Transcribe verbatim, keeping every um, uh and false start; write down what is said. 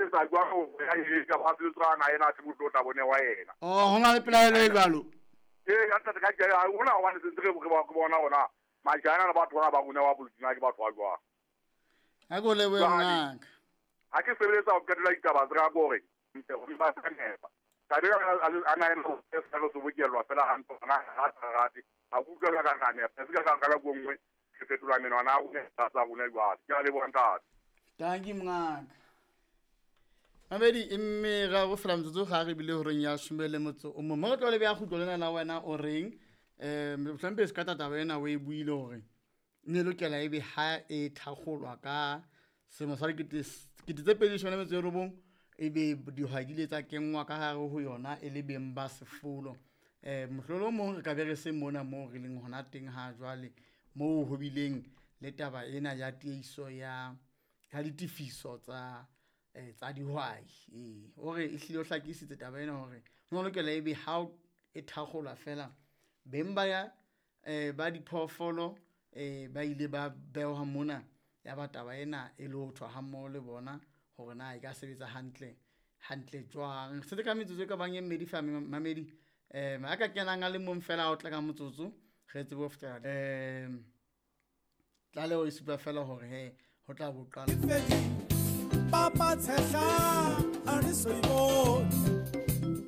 etsa jwang hore a e ka ba tsana yena a se motho o tla bone wa yena. Oh, ho na le pelaelo e jwalo. Ee, ka ntate ka ke hona hobane se ntse re re bona hona majana le batho ba ba rona wa bolokina ke batho ba jwang. Ha ke o lebohe mongaka. Ha ke sebeletsa ho qetela ditaba tsa ka hore ntse ho ba sa nepa. Taba ena a na ena e sa re sobokellwa fela hantle hona ha sa rate. Ha ke utlwa ka ka nepa. Se ka ka ka nngwe ke fetola menwana a rona tsa rona jwale. Ke a leboha ntate. Dankie mongaka. Mamedi e mme ra go fela metsotso ga re bile horeng ya some le motso o mongwe. Mo re tlo le beha kgutlo lena la wena o reng um mohlompe se ka taba ena o e buile hore ne lokela ebe ha e thakgolwa ka selemo sa dikete tse pedi leshome le metso e robong ebe dihwai di ile tsa kenngwa ka hare ho yona e le beng ba sefolo. Um mohlolo o mong re ka be re se mona moo re leng hona teng ha jwale moo ho bileng le taba ena ya tiehiso ya ya ditefiso tsa eh tsa dihwai. Ee, o re ehlile o hlakisitse taba ena hore ho lokela ebe ha e thakgolwa fela beng ba ya eh ba diphoofolo eh ba ile ba behwa mona ya ba taba ena e lothwa ha mmoho le bona hore na e ka sebetsa hantle hantle jwang. Setse ka metsotso e ka bang e mmedi fa mamedi um a ka kenang a le mong fela o tla ka motsotso re tsebe ho fetela um tlaleho e supa fela hore he ho tla bo qala. Papa tshehla a re so e bone.